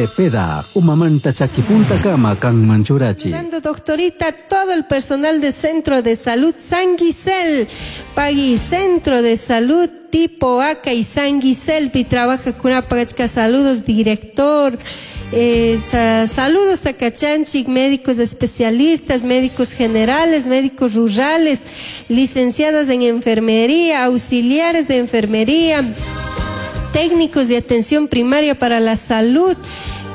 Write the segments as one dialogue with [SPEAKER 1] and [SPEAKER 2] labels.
[SPEAKER 1] Cepeda, umamanta chakipuntakama kanman churachi.
[SPEAKER 2] Fernando, doctorita, todo el personal de Centro de Salud San Gisel, Pagui Centro de Salud tipo ACA y San Gisel, pi trabaja con Apagachka, saludos, director. Saludos a Cachanchik, médicos especialistas, médicos generales, médicos rurales, licenciadas en enfermería, auxiliares de enfermería, técnicos de atención primaria para la salud,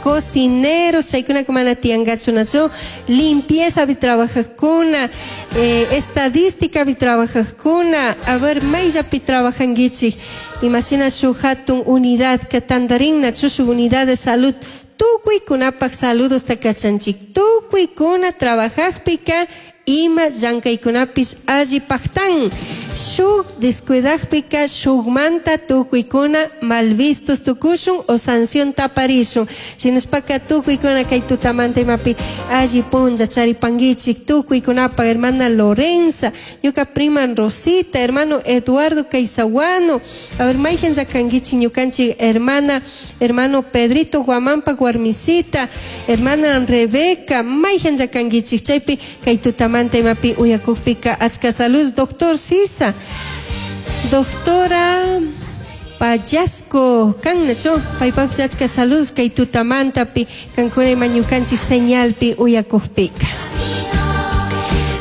[SPEAKER 2] cocineros, chaykuna mana tiyangachunachu, limpieza trabajajkuna, estadística trabajajkuna, a ver, mayllapi trabajankichik, imashina shuk hatun unidad que tantarinna, shuk unidad de salud, tukuykunapak saludos takachanchik, tukuykuna trabajajpika, ima llankaykunapish alli paktan, shuk descuidajpika shukmanta tukuykuna malvistos tukushun o sanción taparishun, shinashpaka tukuykuna kay tutamanta imapi alli punlla charipankichik, tukuykunapa hermana Lorenza, ñuka prima Rosita, hermano Eduardo Caizahuano, a ver mayhan llakankichik ñukanchik hermana, hermano Pedrito Guamampa Guarmisita, hermana Rebeca, mayhan llakankichik chaypi kay tutamanta imapi uyakukpika achka salud, doctor Sisa, doctora Payasco, kannachu, paypapis achka salud kay tutamantapi kankuna ima ñukanchik señalpi uyakukpika.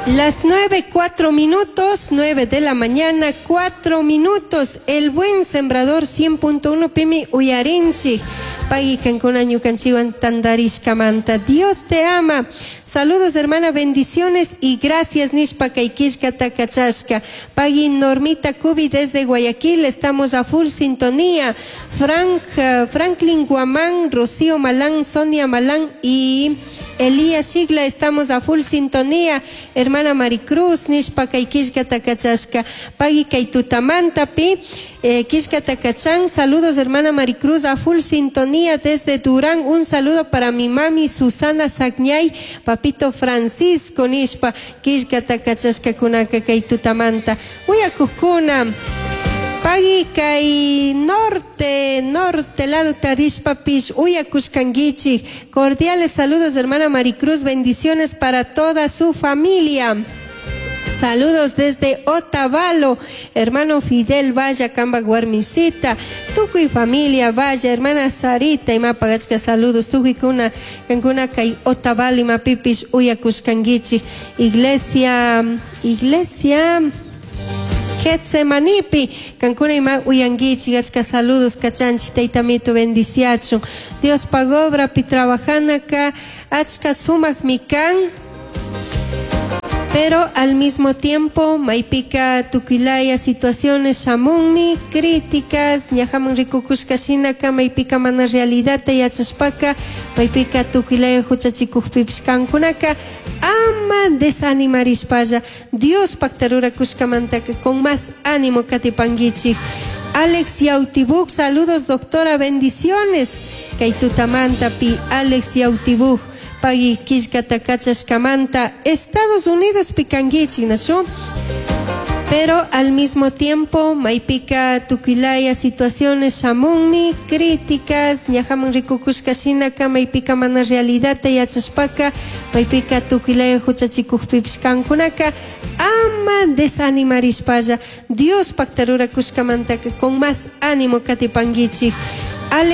[SPEAKER 2] Las 9:04, 9 de la mañana, 4 minutos. El Buen Sembrador 100.1 pimi uyarinchik. Pagui kankuna ñukanchikwan tantarishkamanta. Dios te ama. Saludos, hermana, bendiciones y gracias, nishpa kay killkata kachashka. Pagui Normita Cubi desde Guayaquil, estamos a full sintonía. Franklin Guamán, Rocío Malán, Sonia Malán y Elías Sigla, estamos a full sintonía. Hermana Maricruz, nishpa kay killkata kachashka. Pagui kay tutamantapi, killkata kachan. Saludos, hermana Maricruz, a full sintonía desde Durán. Un saludo para mi mami Susana Sagñay, papito Francisco nishpa killkata kachashka kunaka kay tutamanta. Uyakukuna. Pagui kay norte, norte lado tarishpa pish uyakushkankichik. Cordiales saludos, hermana Maricruz, bendiciones para toda su familia. Saludos desde Otavalo, hermano Fidel Vaya, Kamba Guarmisita, tukuy familia Vaya, hermana Sarita, imapagachka saludos, tukuy kuna, kankuna kay Otavalo, imapipish uyakushkankichik. Iglesia, iglesia Getsemanipi, kankuna ima uyankichik, achka saludos, kachanchik, taytamito bendiciachun. Dios pagobra pi trabajanaka, achka sumak mikan. Pero al mismo tiempo, maypika tukilaya situaciones shamunmi, críticas, ñajaman rikukushka shinaka, maypika mana realidad yachashpaka, maypika tukilaya huchachikukpipish kankunaka, ama desanimarishpalla, Dios paktarurakushkamantaka con más ánimo katipankichik. Alex Yautibuk, saludos doctora, bendiciones. Kay tutamantapi Alex Yautibuk. Pagui killkata kachashkamanta, Estados Unidos pikankichik, nachu. Pero al mismo tiempo, maypika tukilaya situaciones shamunmi, críticas, ñajaman rikukushka shinaka, maypika mana realidad yachashpaka, maypika tukilaya huchachikukpipish kankunaka, ama desanimarishpalla, Dios paktarurakushkamantaka con más ánimo katipankichik. Alex